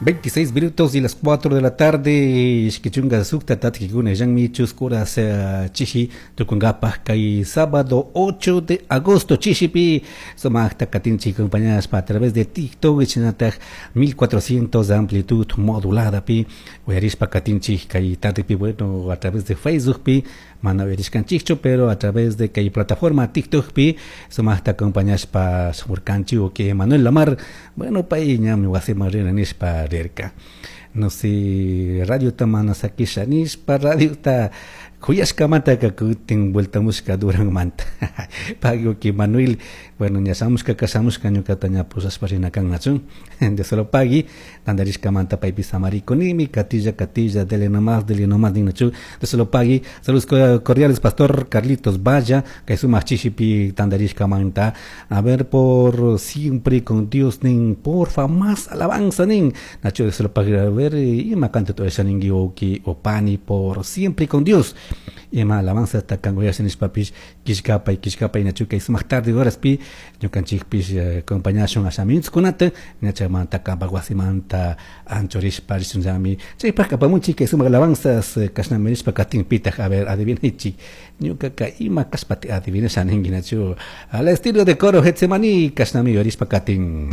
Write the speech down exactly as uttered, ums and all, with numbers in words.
Veintiséis minutos y las cuatro de la tarde, ishki chunka sukta tatkikuna illanmi chusku horas chishi tukunkapaj kay sábado ocho de agosto chishipi sumaqta katinchik acompañashpa a través de TikTok shinataj mil cuatrocientos de amplitud modulada pi uyarishpa katinchik kay tardepi, bueno, a través de Facebook pi mana uyarishkanchikchu, pero a través de kay plataforma TikTok pi sumaqta acompañashpa shamurkanchik o que Manuel Lamar, bueno, pay ñami wasiman rina nishpa rirka. No sé, radiota mana sakisha nishpa, radiota kuyashkamantaka kutin vueltamushka Duranmanta. Pagui que Manuel, bueno, ña shamushka shamushka ñukata ña pushashpa rina kan nachu. De solo pagui, tandarishkamanta paypi samarikunimi, katilla, katilla, dele nomás, dele nomás, ninachu. De solo pagui, saludos cordiales, Pastor Carlitos Valla, kay sumak chishipi tandarishkamanta. A ver, por siempre con Dios, nin, porfa, más alabanza, nin. Nacho, de solo pagui, a ver, ima canto todo esa ningi oki opani, por siempre con Dios. Ima alabanza hasta kangoya nishpapish kishkapay kishkapay nachu kay sumak tarde horas pi ñukanchikpish acompañashun ashamintskunata ñachamanta kampak wasimanta anchurishpa rishunllami chaypaq apamunchik kay sumak alabanzas kashnami nishpa katinpitaq. A ver, adivinaychik ñukaka ima kashpati adivinasha ninki nachu al estilo de coro Getsemaní kashnami yurishpa katin.